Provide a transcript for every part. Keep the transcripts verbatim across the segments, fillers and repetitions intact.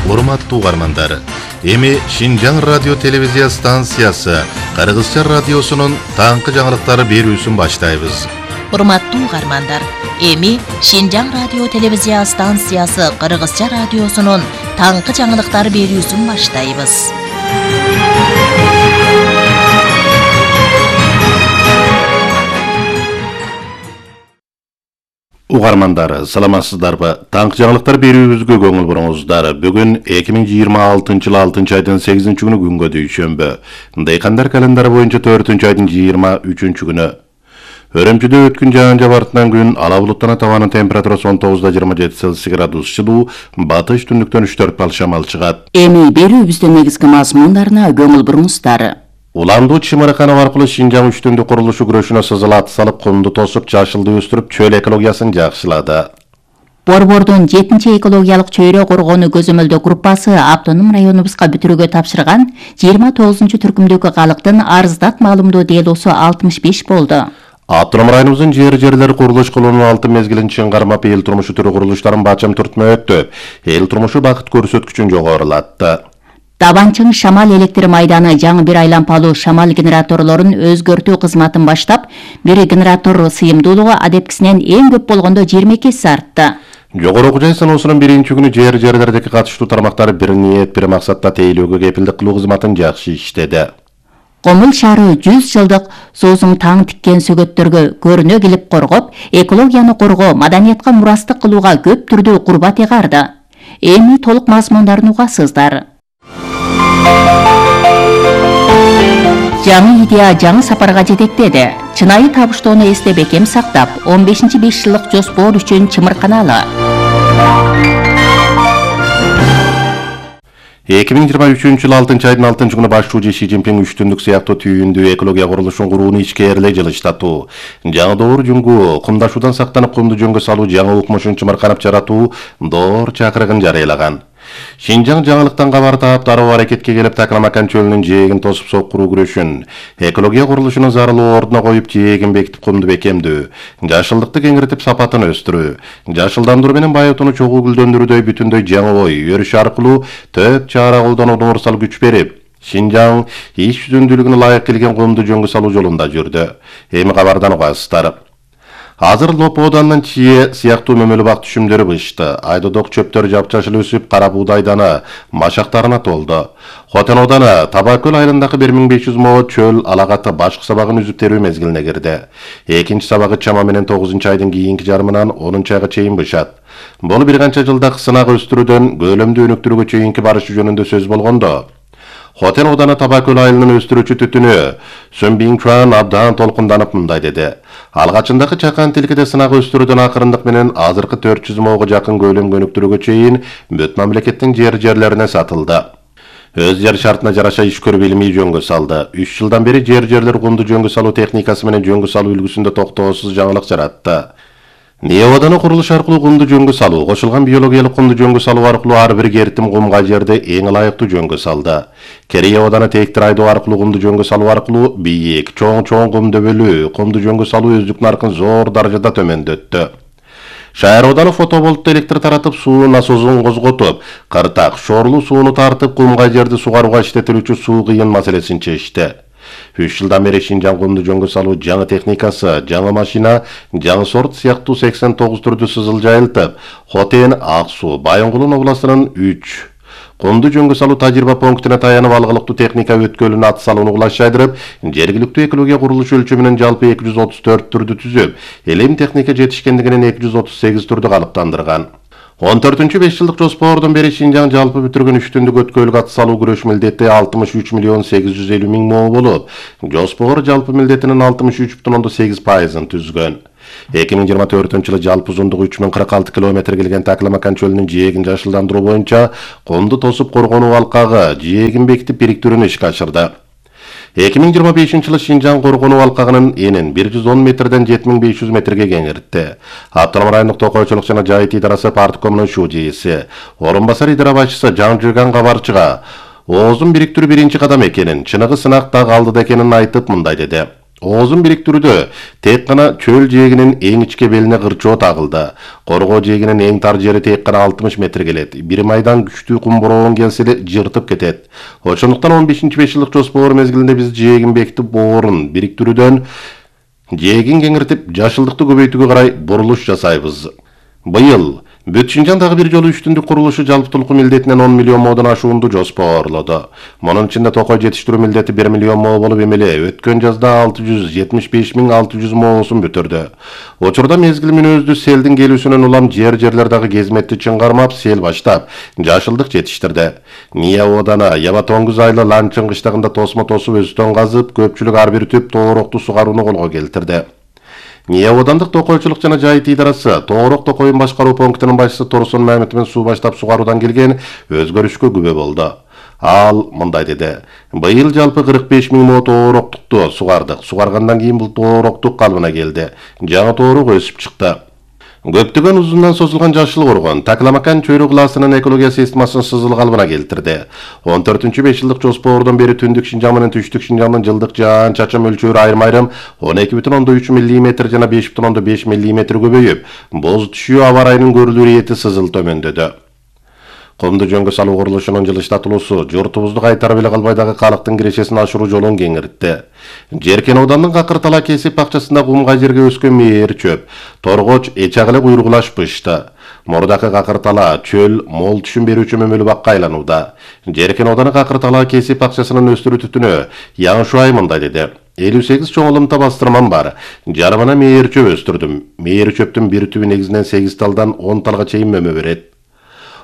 Урматтуу угармандар, эми Шинжаң радио телевизия станциясы Кыргызча радиосунун таңкы жаңылыктары берүүсүн баштайбыз. Урматтуу угармандар, эми Шинжаң радио телевизия станциясы Кыргызча радиосунун таңкы жаңылыктары берүүсүн баштайбыз. Угармандар, саламатсыздарбы? Таңкы жаңылыктар берүүбүзгө көңүл буруңуздар. Бүгүн эки миң жыйырма алтынчы жылы алтынчы айдын сегизинчи күнү күнгө дүйшөмбү. Дыйкандар календары боюнча төртүнчү айдын жыйырма үчүнчү күнү. Өрөмчүдө өткөн жаан жабартынан күн ала булуттан табанын температурасы он тогуз да жыйырма жети Цельсий градус жылуу, батыш түндүктөн үч төрт балл шамал чыгат. Эми берүүбүздүн негизги мазмундарына көңүл буруңуздар. Уландуу чымырыканов аркылуу Шинжаң үчтүндүк курулушу күрөшүнө сызылат салып, кумду тосуп, жашылды өстүрүп, чөл экологиясын жакшылады. Борбордун жетинчи экологиялык чөйрө коргоону көзөмөлдөө группасы автоном районубузга бүтүрүүгө тапшырган жыйырма тогузунчу түркүмдөгү калктын арыздат маалымдоо делосу алтымыш беш болду. Автоном районубуздун жер-жерлери курулуш кылуунун алты мезгилин чын кармап, эл турмушу түрү курулуштарын бачам түртмө өттү. Эл турмушу бакыт көрсөткүчүн жогорулатты. Табанчың шамал электр майданы жаңы бир айлампалуу шамал генераторлорун өзгөртүү кызматын баштап, бир генератор сыйымдуулугу адепкисинен эң көп болгондо жыйырма эки эсе артты. Жогорку жай саноосунун биринчи күнү жер-жерлердеги катыштуу тармактары бир ниет, бир максатта тейлөөгө кепилдик кылуу кызматын жакшы иштеди. Комул шаары жүз жылдык соозуң таң тиккен сөгөттөргө көрүнө келип коргоп, экологияны коргоо, маданиятка мурастык кылууга көп түрдүү курбат ыгарды. Эми толук мазмундарын угасыздар. Жаңы идея жаңы сапарга жетектеди. Чынайы табыштоону эсте бекем сактап, он бешинчи беш жылдык жоспор үчүн чымырканалы. эки миң жыйырма үчүнчү жылы алтынчы айдын алтынчы күнү башчуу Ши Цзиньпин үчтүндүк сыяктуу түйүндүү экология курулушун курууну ичкээрлей жылыштатуу, жаңы доор жүнгү кумдашуудан сактанып, кумду жөнгө салуу жаңы укмушун чымырканып жаратуу доор чакырыгын жарыялаган. Шинжаң жаңылыктан кабар таап, дароо аракетке келип, Такрамакан чөлүнүн жээгин тосуп соккуруу күрөшүн, экология курулушунун зарылуу ордуна коюп, жээгин бекитип, кумду бекемдөө, жашылдыкты кеңиртип, сапатын өстүрүү, жашылдандыруу менен байытууну чогуу гүлдөндүрүүдөй бүтүндөй жаңы ой, өрүш аркылуу төп чара колдонууга уурсал күч берип, Шинжаң иш жүзүндүүлүгүнө ылайык келген кумду жөнгө салуу жолунда жүрдү. Эми кабардан угасыздар. Азыр Лопо оданынан чие сыяктуу мөмөлүү бак түшүмдөрү бышты. Айдодок чөптөр жапжашыл өсүп, кара буудайдана, машактарына толду. Хотен оданы Табакөл айылындагы бир миң беш жүз мо чөл алагаты башкы сабагын үзүп терүү мезгилине кирди. Экинчи сабагы чама менен тогузунчу айдын кийинки жарымынан онунчу айга чейин бышат. Бул бир канча жылдак сынак өстүрүүдөн көлөмдү өнүктүрүүгө чейинки барышы жөнүндө сөз болгондо, Хотен оданы Табакөл айылынын өстүрүүчү түтүнү Сөнбиң Чуан абдан толкунданып мындай деди. Алгачындагы чакан тилкеде сынак өстүрүүдөн акырындык менен азыркы төрт жүз мого жакын көлөм өнүктүрүүгө чейин бүт мамлекеттин жер-жерлерине сатылды. Өз жер шартына жараша иш көрүп илимий жөнгө салды. үч жылдан бери жер-жерлер кумду жөнгө салуу техникасы менен жөнгө салуу үлгүсүндө токтоосуз жаңылык жаратты. Неоданы курулуш аркылуу кумду жөнгө салуу, кошулган биологиялык кумду жөнгө салуу аркылуу ар бир кертим кумга жерди эң ылайыктуу жөнгө салды. Керей оданы тээктир айдоо аркылуу кумду жөнгө салуу аркылуу бийик, чоң-чоң кум дөбөлүү, кумду жөнгө салуу өздүк наркын зор даражада төмөндөттү. Шаар оданы фотоболтто электр таратып, суу насосун козготуп, кыртак, шорлуу сууну тартып, кумга жерди сугарууга иштетилүүчү суу кыйын маселесин чечти. үч жылдан бери Шинжаң кумду жөнгө салуу жаңы техникасы, жаңы машина, жаңы сорт сыяктуу сексен тогуз түрдүү сызыл жайылтып, Хотен, Ак суу, Байынгулун областынын үч кумду жөнгө салуу тажрыйба пунктуна таянып, алгылыктуу техника өткөлүн ат салууну кулаш жайдырып, жергиликтүү экология курулушу өлчөмүнөн жалпы эки жүз отуз төрт түрдү түзүп, элем техника жетишкендигинен эки жүз отуз сегиз түрдү калыптандырган. он төртүнчү беш жылдык жоспордон бери Шинжаң жалпы бүтүргөн үч түндүк өткөлгө ат салуу күрөш милдети алтымыш үч миллион сегиз жүз элүү миң мо болуп, жоспор жалпы милдетинин алтымыш үч бүтүн ондон сегиз пайызын түзгөн. эки миң жыйырма төртүнчү жылы жалпы узундугу үч миң кырк алты километр келген Такрамакан чөлүнүн жээгин жашылдандыруу боюнча кумду тосуп коргонуу алкагы жээгин бекитип бириктирүүнү ишке ашырды. эки миң жыйырма бешинчи жылы Шинжаң коргонуу алкагынын энин бир жүз он метрден жети миң беш жүз метрге кеңиртти. Автоном райондук токойчулук жана жайыт идарасы парткомунун шужийси, орун басар идара башчысы Жаңжыган кабарчыга оозун бириктирүү биринчи кадам экенин, чыныгы сынак да калды экенин айтып мындай деди. Оозун бириктирүүдө тек гана чөл жээгинин эң ичке белине кырчоо тагылды. Коргоо жээгинин эң тар жери тек гана алтымыш метр келет. Бир майдан күчтүү кум бороон келсе эле жыртып кетет. Ошондуктан он бешинчи беш жылдык жоспор мезгилинде биз жээгин бекитип боорун бириктирүүдөн жээгин кеңиртип жашылдыкты көбөйтүүгө карай бурулуш жасайбыз. Быйыл Бүт Шинжаңдагы бир жолу үчтүндүк курулушу жалпы толук милдетинен он миллион модон ашуунду жоспорлоду. Мунун ичинде токой жетиштирүү милдети бир миллион мо болуп эмеле өткөн жазда алты жүз жетимиш беш миң алты жүз моосун бүтүрдү. Учурда мезгил мүнөздүү селдин келүүсүнөн улам жер-жерлер дагы кезметти чыңгармап, сел баштап, жашылдык жетиштирди. Ния Одана, Яба Тоңгуз айлы Ланчын кыштагында тосмо тосуп өстөн казып, көпчүлүк ар бир түп тоорокту сугарууну колго келтирди. Ния Одандык токойчулук жана жайыт идарасы Тоорок токойун башкаруу пунктунун башчысы Торсон Мамедовдун суу баштап сугаруудан келген өзгөрүшкө күбө болду. Ал мындай деди: "Быйыл жалпы кырк беш миң мо тоороктукту сугардык. Сугаргандан кийин бул тоороктук калыбына келди. Жаңы тоорок өсүп чыкты." Көптөгөн узундан созулган жашыл коргон Такламакан чөйрө классынын экология системасын сызыл калыбына келтирди. он төртүнчү беш жылдык жоспордон бери Түндүк Шинжаң менен Түштүк Шинжаңдын жылдык жаан чачым мөлчөрү айрым-айрым он эки бүтүн ондон үч миллиметр жана беш бүтүн ондон беш миллиметр көбөйүп, боз түшүү аба ырайынын көрүлүү ирети сызыл төмөндөдү. Комду жөнгө салуу курулушунун жылыштатылуусу журтубузду кайтарып эле калбай дагы калктын кирешесин ашыруу жолун кеңиртти. Жеркен Оодандын Какыртала кесип бакчасында кумга жерге өскөн мээр чөп, торгоч эчак эле куйругулашпышты. Мурдакы Какыртала чөл мол түшүм берүүчү мөмөлүү бакка айланууда. Жеркен Ооданы Какыртала кесип бакчасынын өстүрүү түтүнү Яң Шуай мындай деди: элүү сегиз чоң ылымта бастырмам бар. Жарымына мээр чөп өстүрдүм. Мээр чөптүн бир түбү негизинен сегиз талдан он талга чейин мөмө берет.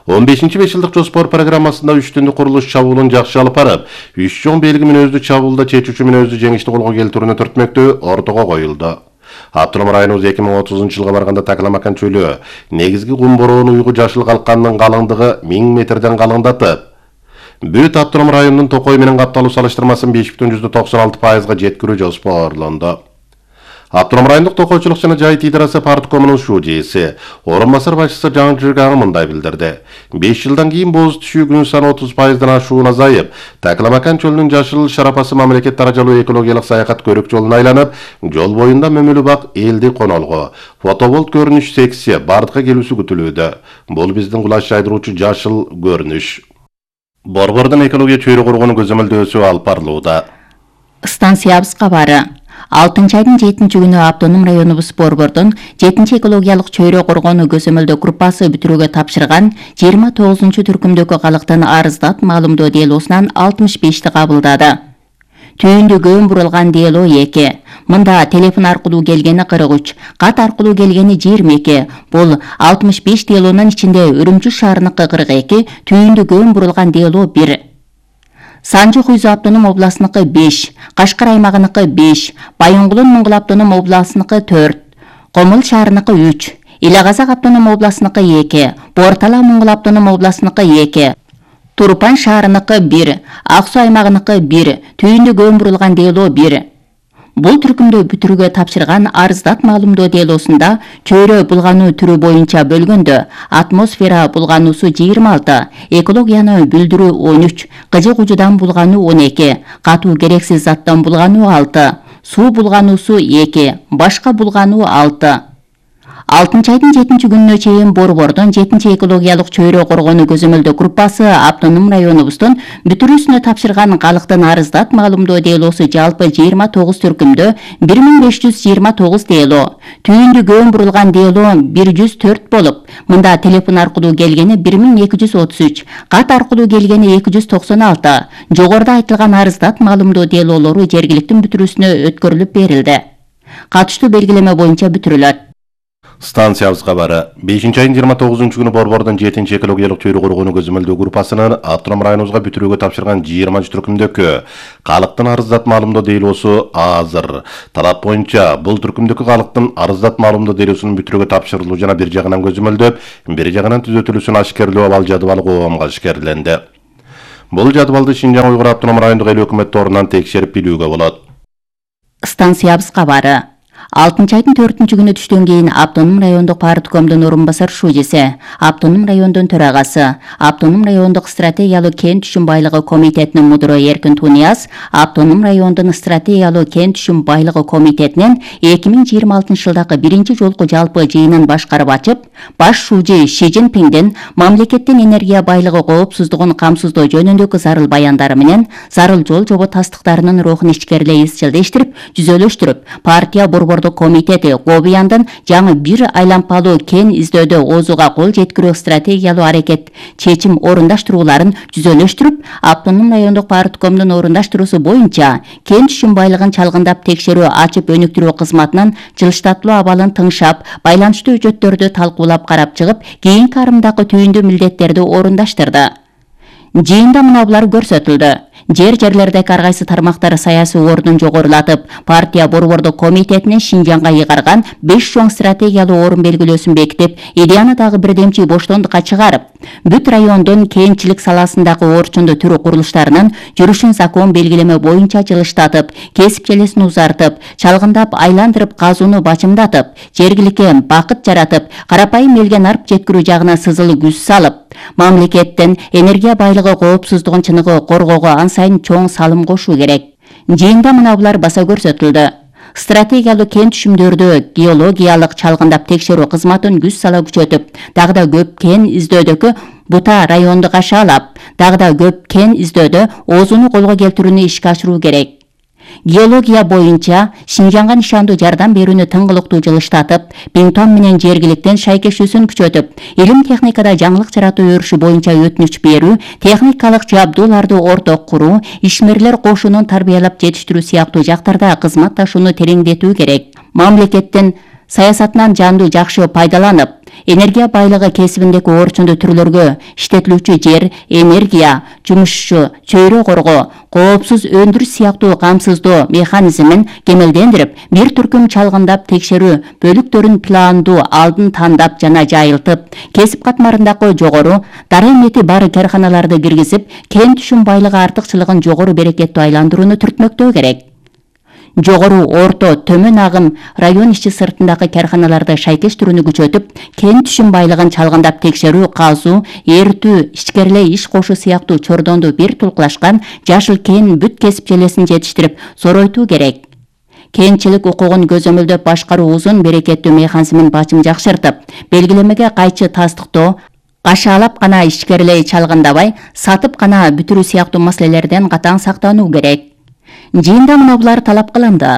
он бешинчи беш жылдык жоспор программасында үч түндүк курулуш чабуулун жакшы алып барып, үч чоң белги мүнөздүү чабуулда чечүүчү мүнөздүү жеңишти колго келтирүүнү төртмөктөө ортого коюлду. Автоном районубуз эки миң отузунчу жылга барганда Такламакан чөлү негизги кум бороон уйгу жашыл калкандын калыңдыгы миң метрден калыңдатып, бүт автоном районунун токой менен капталуу салыштырмасын беш бүтүн жүздө токсон алты пайызга жеткирүү жоспорлонду. Автоном райондук токойчулук жана жайыт идарасы парткомунун шуу жээси, орун басар башчысы Жаңжырга Ага мындай билдирди: беш жылдан кийин боз түшүү күн саны отуз пайыздан ашуун азайып, Такламакан чөлүнүн жашыл шарапасы мамлекет даражалуу экологиялык саякат көрүк жолун айланып, жол боюнда мөмөлүү бак, элди конолгу, фотоболт көрүнүш секция бардыкка келүүсү күтүлүүдө. Бул биздин кулаш жайдыруучу жашыл көрүнүш. Борбордун экология чөйрө коргонуу көзөмөлдөөсү алып барылууда. Станциябыз кабары. алтынчы айдын жетинчи күнү автоном районубуз Борбордун жетинчи экологиялык чөйрө коргонуу көзөмөлдөө группасы бүтүрүүгө тапшырган жыйырма тогузунчу түркүмдөгү калктын арыздат маалымдоо делосунан алтымыш бешти кабылдады. Түйүндү көөн бурулган дело эки. Мында телефон аркылуу келгени кырк үч, кат аркылуу келгени жыйырма эки. Бул алтымыш беш делонун ичинде Үрүмчү шаарыныкы кырк эки, түйүндү көөн бурулган дело бир. Санжы Хуйзу автоном областыныкы беш, Кашкар аймагыныкы беш, Байоңгулун Муңгул автоном областыныкы төрт, Комул шаарыныкы үч, Илагазак автоном областыныкы эки, Бортала Муңгул автоном областыныкы эки, Турпан шаарыныкы бир, Ак Суу аймагыныкы бир, түйүндү көөн бурулган дело бир. Бул түркүмдө бүтүрүүгө тапшырган арыздат маалымдоо делосунда чөйрө булгануу түрү боюнча бөлгөндө атмосфера булгануусу жыйырма алты, экологияны бүлдүрүү он үч, кыжы кужудан булгануу он эки, катуу керексиз заттан булгануу алты, суу булгануусу эки, башка булгануу алты. алтынчы айдын жетинчи күнүнө чейин Борбордун жетинчи экологиялык чөйрө коргонуу көзөмөлдөө группасы автоном районубуздун бүтүрүүсүнө тапшырган калктын арыздат маалымдоо делосу жалпы жыйырма тогуз түркүмдө бир миң беш жүз жыйырма тогуз дело, түйүндү көөн бурулган дело бир жүз төрт болуп, мында телефон аркылуу келгени бир миң эки жүз отуз үч, кат аркылуу келгени эки жүз токсон алты. Жогоруда айтылган арыздат маалымдоо делолору жергиликтин бүтүрүүсүнө өткөрүлүп берилди. Катыштуу белгилеме боюнча бүтүрүлөт. Станциябыз кабары. бешинчи айдын жыйырма тогузунчу күнү Борбордун жетинчи экологиялык чөйрө коргонуу көзөмөлдөө группасынын автоном районубузга бүтүрүүгө тапшырган жыйырманчы түркүмдөгү калктын арыздат маалымдоо делосу азыр. Талап боюнча бул түркүмдөгү калктын арыздат маалымдоо делосунун бүтүрүүгө тапшырылуу жана бир жагынан көзөмөлдөп, бир жагынан түзөтүлүүсүн ашкерлөө абал жадыбалы коомго ашкерленди. Бул жадыбалды Шинжаң Уйгур автоном райондук эл өкмөт торунан текшерип билүүгө болот. Станциябыз кабары. алтынчы айдын төртүнчү күнү түштөн кийин Автоном райондук парткомдун орун басар шужеси, Автоном райондун төрагасы, Автоном райондук стратегиялуу кен түшүм байлыгы комитетинин мудуру Эркин Тунияз, Автоном райондун стратегиялуу кен түшүм байлыгы комитетинин эки миң жыйырма алтынчы жылдагы биринчи жолку жалпы жыйынын башкарып ачып, баш шужи Ши Цзиньпиндин мамлекеттин энергия байлыгы коопсуздугун камсыздоо жөнүндөгү зарыл баяндары менен зарыл жол жобо тастыктарынын рухун ичкерилей изчилдештирип, жүзөлөштүрүп, партия борбордук комитети Гобияндын жаңы бир айлампалуу кен издөөдө оозуга кол жеткирүү стратегиялуу аракет чечим орундаштырууларын жүзөлөштүрүп, Автоном райондук парткомдун орундаштыруусу боюнча кен түшүм байлыгын чалгындап текшерүү ачып өнүктүрүү кызматынын жылыштатылуу абалын тыңшап, байланыштуу үчөттөрдү талкуулап карап чыгып, кийинки арымдагы түйүндүү милдеттерди орундаштырды. Жыйында мына булар көрсөтүлдү. Жер жерлердеги ар кайсы тармактар саясий ордун жогорулатып, партия борбордук комитетинин Шинжаңга ыйгарган беш чоң стратегиялуу орун белгилөөсүн бекитип, идеяны дагы бирдемчи боштондукка чыгарып, бүт райондун кенчилик саласындагы орчундуу түрү курулуштарынын жүрүшүн закон белгилеме боюнча жылыштатып, кесип желесин узартып, чалгындап айландырып казууну бачымдатып, жергиликке бакыт жаратып, карапайым элге нарп жеткирүү жагына сызылуу күч салып, мамлекеттин энергия байлыгы коопсуздугун чыныгы коргоого ан сайын чоң салым кошуу керек. Жыйында мына булар баса көрсөтүлдү. Стратегиялуу кен түшүмдөрдү геологиялык чалгындап текшерүү кызматын күч сала күчөтүп, дагы да көп кен издөөдөгү бута районду кашаалап, дагы да көп кен издөөдө оозуну колго келтирүүнү ишке ашыруу керек. Геология боюнча Шинжаңга нишандуу жардам берүүнү тыңгылыктуу жылыштатып, Бингтон менен жергиликтен шайкештүүсүн күчөтүп, илим техникада жаңылык жаратуу өрүшү боюнча өтүнүч берүү, техникалык жабдууларды орток куруу, ишмерлер кошунун тарбиялап жетиштирүү сыяктуу жактарда кызматташууну тереңдетүү керек. Мамлекеттин саясатынан жанду жакшы пайдаланып, энергия байлыгы кесибиндеги орчундуу түрлөргө иштетилүүчү жер, энергия, жумушчу, чөйрө коргоо, коопсуз өндүрүш сыяктуу камсыздоо механизмин кемелдендирип, бир түркүм чалгындап текшерүү бөлүктөрүн пландуу алдын тандап жана жайылтып, кесип катмарындагы жогору дарамети бар карканаларды киргизип, кен түшүм байлыгы артыкчылыгын жогору берекеттүү айландырууну түртмөктөө керек. Жогору, орто, төмөн агым район ичи сыртындагы карканаларды шайкештирүүнү күчөтүп, кен түшүм байлыгын чалгындап текшерүү, казуу, эртүү, ичкерилей иш кошуу сыяктуу чордонду бир тулкулашкан жашыл кен бүт кесип желесин жетиштирип, соройтуу керек. Кенчилик укугун көзөмөлдөп башкаруу узун берекеттүү механизмин бачым жакшыртып, белгилемеге кайчы тастыктоо, кашаалап гана ичкерилей чалгындабай, сатып гана бүтүрүү сыяктуу маселелерден катаң сактануу керек. Жыйында мына булар талап кылынды.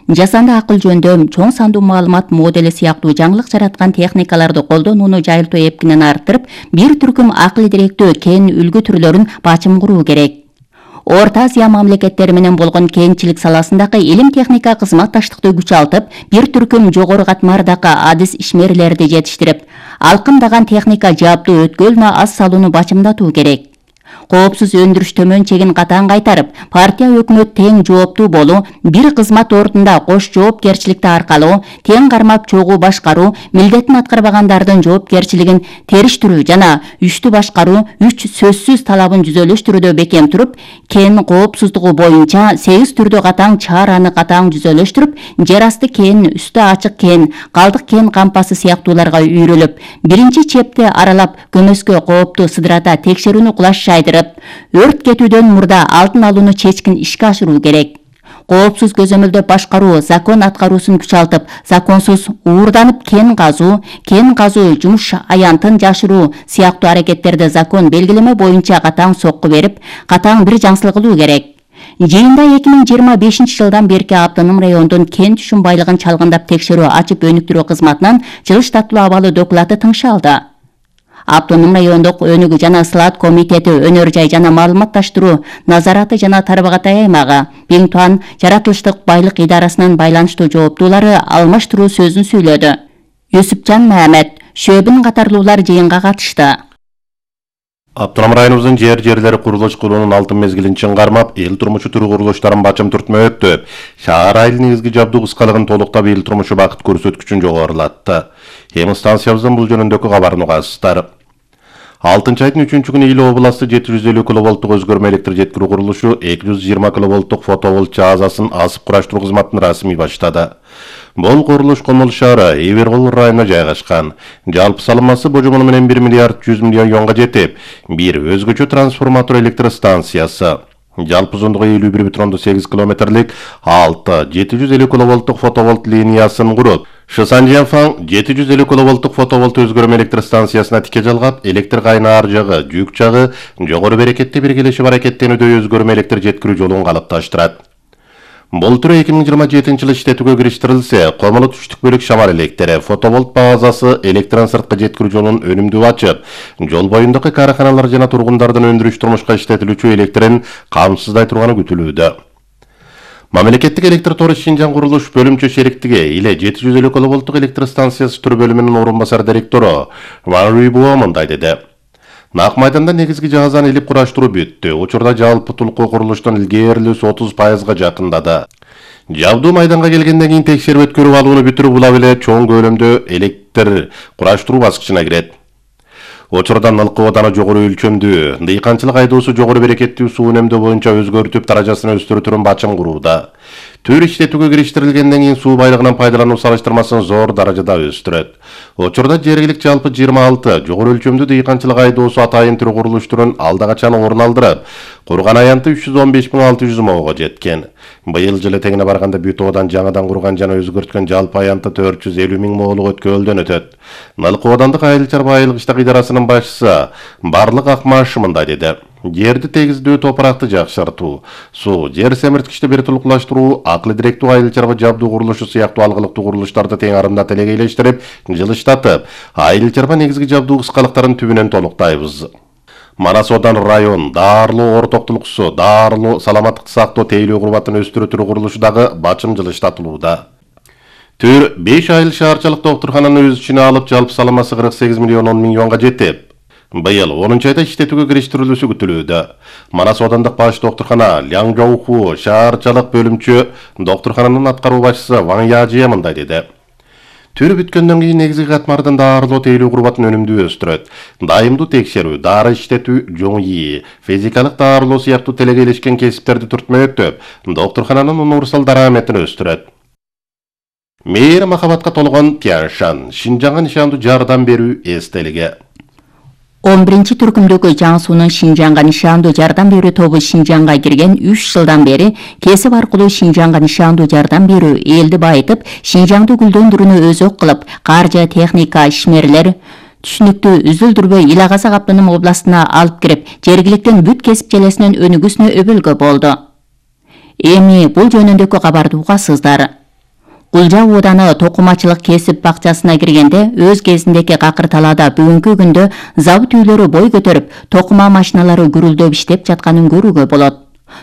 Жасанды акыл жөндөм, чоң сандуу маалымат модели сыяктуу жаңылык жараткан техникаларды колдонууну жайылтуу эпкинен арттырып, бир түркүм акыл директүү кен үлгү түрлөрүн бачым куруу керек. Орто Азия мамлекеттери менен болгон кенчилик саласындагы илим техника кызматташтыкты күчалтып, бир түркүм жогору катмардагы адис ишмерлерди жетиштирип, алкындаган техника жабдуу өткөлүнө аз салууну бачымдатуу керек. Коопсуз өндүрүш төмөн чегин катаң кайтарып, партия өкмөт тең жооптуу болуу, бир кызмат ордунда кош жоопкерчиликти аркалоо, тең кармап чогуу башкаруу, милдетин аткарбагандардын жоопкерчилигин териштирүү жана үчтү башкаруу үч сөзсүз талабын жүзөлөштүрүүдө бекем туруп, кен коопсуздугу боюнча сегиз түрдүү катаң чараны катаң жүзөлөштүрүп, жер асты кен, үстү ачык кен, калдык кен кампасы сыяктууларга үйрөлүп, биринчи чепти аралап, көмөскө кооптуу сыдырата текшерүүнү кулаш жайдырып, өрт кетүүдөн мурда алдын алууну чечкин ишке ашыруу керек. Коопсуз көзөмөлдөп башкаруу, закон аткаруусун күчалтып, законсуз уурданып кен казуу, кен казуу жумуш аянтын жашыруу сыяктуу аракеттерди закон белгилеме боюнча катаң сокку берип, катаң бир жаңсыл кылуу керек. Жыйында эки миң жыйырма бешинчи жылдан берки Автоном райондун кен түшүм байлыгын чалгындап текшерүү ачып өнүктүрүү кызматынан жылыштатылуу абалы доклаты тыңшалды. Автоном райондук өнүгүү жана слат комитети, өнөр жай жана маалыматташтыруу назараты жана тарбагатай аймагы, Бингтон жаратылыштык байлык идарасынын байланыштуу жооптуулары алмаштыруу сөзүн сүйлөдү. Юсупжан Мамед, Шөбүн катарлуулар жыйынга катышты. Автоном районубуздун жер жерлери курулуш кылуунун алтын мезгилин чың кармап, эл турмушу түрү курулуштарын бачым түртмөктө. Шаар айыл негизги жабдуу кыскалыгын толуктап, эл турмушу бакыт көрсөткүчүн жогорулатты. Эми станциябыздын бул жөнүндөгү кабарын угасыздар. алтынчы айдын үчүнчү күнү Иле областы жети жүз элүү киловолттук өзгөрмө электр жеткирүү курулушу эки жүз жыйырма киловолттук фотоволт жазасын асып кураштыруу кызматын расмий баштады. Бул курулуш Комол шаары Эбергол районуна жайгашкан. Жалпы салымасы божомону менен бир миллиард жүз миллион юанга жетип, бир өзгөчө трансформатор электр станциясы, жалпы узундугу элүү бир бүтүн сегиз километрлик алты жети жүз элүү киловолттук фотоволт линиясын куруп, Шысанжанфаң жети жүз элүү киловолттук фотоволт өзгөрмө электр станциясына тике жалгап, электр кайнаар жагы, жүк жагы жогору берекетте биргелешип аракеттенүүдө өзгөрмө электр жеткирүү жолун калыпташтырат. Бул түрү эки миң жыйырма жетинчи жылы иштетүүгө кириштирилсе, Комолу түштүк бөлүк шамар электри фотоволт базасы электрон сырткы жеткирүү жолун өнүмдүү ачып, жол боюндагы каарханалар жана тургундардын өндүрүш турмушка иштетилүүчү электрин камсыздай турганы күтүлүүдө. Мамлекеттик электр тору Шинжаң курулуш бөлүмчө шериктиги Иле жети жүз элүү киловолттук электр станциясы түр бөлүмүнүн орун басар директору Ван Руйбуо мындай деди. Нак майданда негизги жаазаны илип кураштыруу бүттү. Учурда жалпы тулкуу курулуштун илгээрилүүсү отуз пайызга жакындады. Жабдуу майданга келгенден кийин текшерип өткөрүп алууну бүтүрүү була эле чоң көлөмдө электр кураштыруу баскычына кирет. Учурда ылкы ооданы жогору өлчөмдүү, дыйканчылык айдоосу жогору берекеттүү суу үнөмдөө боюнча өзгөртүп даражасын өстүрүүтүрүн бачым курууда. Түр иштетүүгө кириштирилгенден кийин суу байлыгынан пайдалануу салыштырмасын зор даражада өстүрөт. Учурда жергилик жалпы жыйырма алты жогору өлчөмдүү дыйканчылык айдоосу атайын түрү курулуштурун алда качан орун алдырып, курган аянты үч жүз он беш миң алты жүз моого жеткен. Быйыл жылы тегине барганда бүт оодан жаңадан курган жана өзгөрткөн жалпы аянты төрт жүз элүү миң моолук өткөлдөн өтөт. Налкы оодандык айыл чарба айылгычтык идарасынын башчысы Барлык Акмаш мындай деди. Жерди тегиздүү, топуракты жакшыртуу, суу, жер семирткичти бир тулукташтыруу, акылы директүү айыл чарба жабдуу курулушу сыяктуу алгылыктуу курулуштарды тең арында телегейлештирип, жылыштатып, айыл чарба негизги жабдуу кыскалыктарын түбүнөн толуктайбыз. Манас Одан район Даарылуу ортоктулуксу, Даарылуу саламаттыкты сактоо тейлөө курбатын өстүрүү түрү курулушу дагы бачым жылыштатылууда. Түр беш айыл шаарчалык доктурхананы өз ичине алып, жалпы салымасы кырк сегиз миллион он миң юанга жетип, быйыл онунчу айда иштетүүгө кириштирилүүсү күтүлүүдө. Манас Оодандык баш доктурхана Ляңжоуху шаарчалык бөлүмчө доктурхананын аткаруу башчысы Ван Яжия мындай деди. Түр бүткөндөн кийин негизги катмардын даарылоо тейлөө курбатын өнүмдүү өстүрөт. Дайымдуу текшерүү, дары иштетүү, жоң ии, физикалык даарылоо сыяктуу телегейлешкен кесиптерди түртмөктөп, доктурхананын универсал дараметин өстүрөт. Мейир махабатка толгон Тяншан, Шинжаңга нишандуу жардам берүү эстелиги. он биринчи түркүмдөгү Жаңсуунун Шинжаңга нишандуу жардам берүү тобу Шинжаңга кирген үч жылдан бери кесип аркылуу Шинжаңга нишандуу жардам берүү элди байытып, Шинжаңды гүлдөндүрүүнү өзөк кылып, каржы, техника, ишмерлер түшүнүктүү үзүлдүрбөй Ил Агазак автоном областына алып кирип, жергиликтен бүт кесип желесинин өнүгүүсүнө өбөлгө болду. Эми бул жөнүндөгү кабарды угасыздар. Кулжа ооданы токумачылык кесип бакчасына киргенде өз кезиндеги какыр талаада бүгүнкү күндө завод үйлөрү бой көтөрүп, токума машиналары гүрүлдөп иштеп жатканын көрүүгө болот.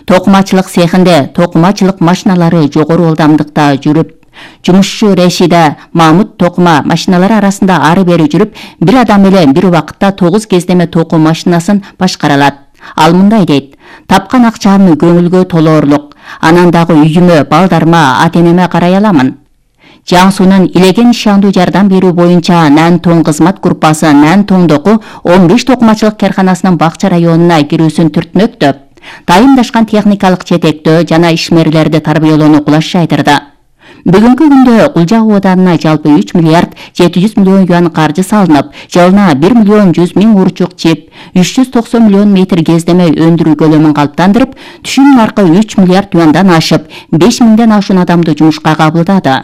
Токумачылык цехинде токумачылык машиналары жогору ылдамдыкта жүрүп, жумушчу Решида Мамут токума машиналары арасында ары бери жүрүп, бир адам эле бир убакытта тогуз кездеме току машинасын башкара алат. Ал мындай дейт: тапкан акчамды көңүлгө толоорлук, анан дагы үйүмө, балдарыма, ата-энеме карай аламын. Жаңсуунун Илеге нишандуу жардам берүү боюнча Нан Тоң кызмат группасы Нан Тоңдогу он беш токумачылык карханасынын Бакча районуна кирүүсүн түртмөктөп, дайымдашкан техникалык жетектөө жана ишмерлерди тарбиялоону кулаш жайдырды. Бүгүнкү күндө Кулжа ооданына жалпы үч миллиард жети жүз миллион юан каржы салынып, жылына бир миллион жүз миң урчук чип, үч жүз токсон миллион метр кездеме өндүрүү көлөмүн калыптандырып, түшүм наркы үч миллиард юандан ашып, беш миңден ашуун адамды жумушка кабылдады.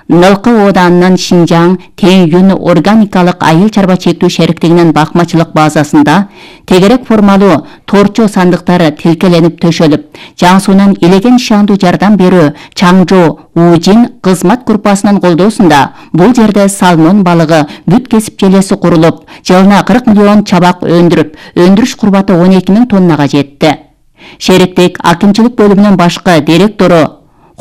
Нылкы ооданынын Шинжаң Тең Юн органикалык айыл чарба чектүү шериктигинин бакмачылык базасында тегерек формалуу торчо сандыктары тилкеленип төшөлүп, Жаңсуунун Илеге нишандуу жардам берүү Чаңжо Ужин кызмат группасынын колдоосунда бул жерде салмон балыгы бүт кесип желеси курулуп, жылына кырк миллион чабак өндүрүп, өндүрүш курбаты он эки миң тоннага жетти. Шериктик акимчилик бөлүмүнүн башкы директору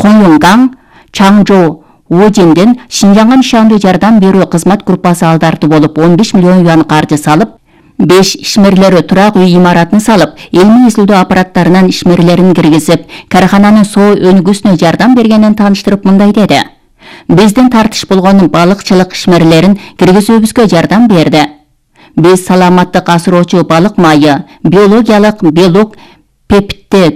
Хоюнгаң Чаңжо Ужинден Шинжаңга нишандуу жардам берүү кызмат группасы алдартуу болуп он беш миллион юан каржы салып, беш ишмерлери турак үй имаратын салып, илмий изилдөө аппараттарынын ишмерлерин киргизип, кархананын соо өнүгүүсүнө жардам бергенин тааныштырып мындай деди: биздин тартыш болгон балыкчылык ишмерлерин киргизүүбүзгө жардам берди. Биз саламаттык асыроочу балык майы, биологиялык белок, пептид